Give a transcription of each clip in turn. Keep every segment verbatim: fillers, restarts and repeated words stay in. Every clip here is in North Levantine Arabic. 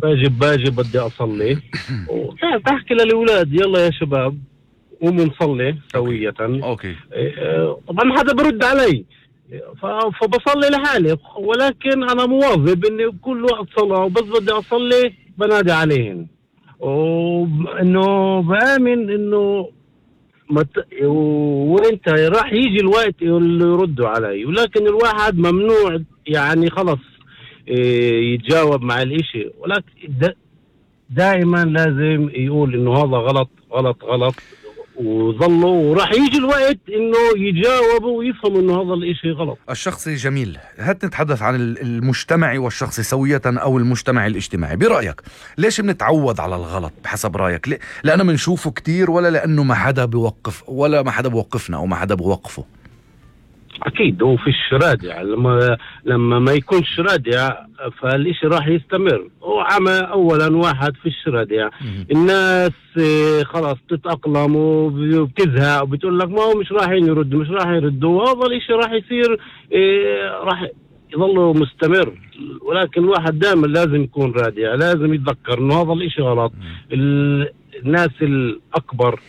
واجب باجي بدي أصلي وبحكي للأولاد يلا يا شباب قوموا نصلي سوية. أوكي. طبعا حدا برد علي فبصلي لحالي، ولكن أنا مواظب إني بكل وقت صلاة وبس بدي أصلي بنادي عليهن، وإنه بآمن إنه مت... وإنت راح يجي الوقت اللي يردوا علي، ولكن الواحد ممنوع يعني خلص يتجاوب مع الإشي، ولكن دائما لازم يقول إنه هذا غلط غلط غلط وظلوا، وراح يجي الوقت انه يجاوبوا ويفهموا انه هذا الاشي غلط. الشخصي جميل، هات نتحدث عن المجتمعي والشخصي سوية او المجتمعي الاجتماعي. برأيك ليش بنتعود على الغلط بحسب رأيك؟ ليه؟ لأنه منشوفه كتير ولا لأنه ما حدا بيوقف ولا ما حدا بيوقفنا او ما حدا بيوقفه؟ اكيد هو في الشرادع، لما لما ما يكونش رادع فالاشي راح يستمر. هو عمى اولا واحد في الشرادع، الناس خلاص تتأقلم وبتزهق وبتقول لك ما هو مش رايحين يردوا مش راح يردوا، وهذا الاشي راح يصير راح يظل مستمر. ولكن الواحد دائما لازم يكون رادع، لازم يتذكر انه هذا الاشي غلط. الناس الاكبر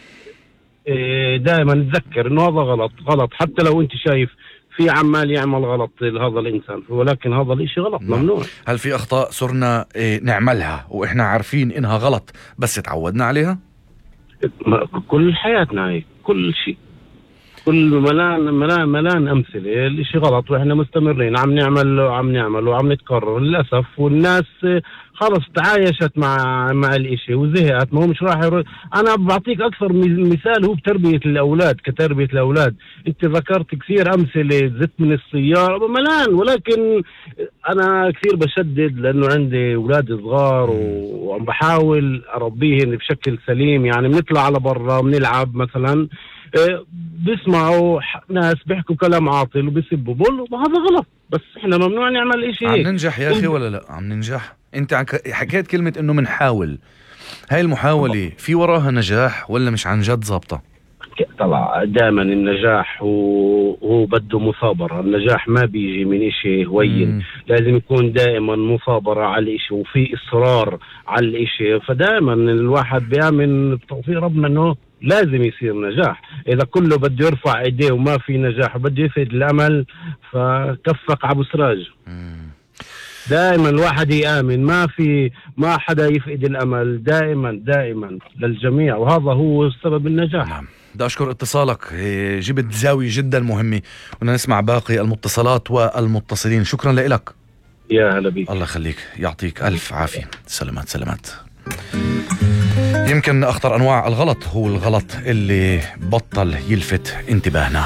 دائما نتذكر انه هذا غلط غلط، حتى لو انت شايف في عمال يعمل غلط لهذا الانسان، ولكن هذا الاشي غلط ممنوع. هل في اخطاء صرنا نعملها واحنا عارفين انها غلط بس تعودنا عليها؟ كل حياتنا هيك، كل شيء، كل ملان ملان ملان امثله الاشي غلط واحنا مستمرين عم نعمل وعم نعمل وعم نتكرر للاسف. والناس خلص تعايشت مع مع الاشي وزهقت، ما هو مش راح يرد. انا بعطيك اكثر مثال هو بتربيه الاولاد، كتربيه الاولاد. انت ذكرت كثير امثله، زت من السياره ملان، ولكن انا كثير بشدد لانه عندي اولاد صغار وعم بحاول اربيهم بشكل سليم. يعني بنطلع على برا بنلعب مثلا، بيسمعوا ناس بيحكوا كلام عاطل وبيسبوا بقول هذا غلط، بس احنا ممنوع نعمل اشي هيك. عم ننجح يا اخي ولا لا؟ عم ننجح؟ انت حكيت كلمة انه منحاول، هاي المحاولة في وراها نجاح ولا مش عن جد ظابطة؟ طلع دائما النجاح هو بده مثابرة، النجاح ما بيجي من اشي هوين، لازم يكون دائما مثابرة على الاشي وفي اصرار على الاشي. فدائما الواحد بيامن بتوفيق ربنا انه لازم يصير نجاح. اذا كله بده يرفع ايديه وما في نجاح وبده يفقد الامل فكفق عبو سراج. دائما الواحد يآمن، ما في ما حدا يفقد الامل، دائما دائما للجميع، وهذا هو سبب النجاح. نعم. بدي أشكر اتصالك، جبت زاوية جدا مهمة، ونسمع باقي المتصلات والمتصلين. شكرا لك. يا هلا بيك. الله يخليك، يعطيك ألف عافية. سلامات سلامات. يمكن أخطر أنواع الغلط هو الغلط اللي بطل يلفت انتباهنا.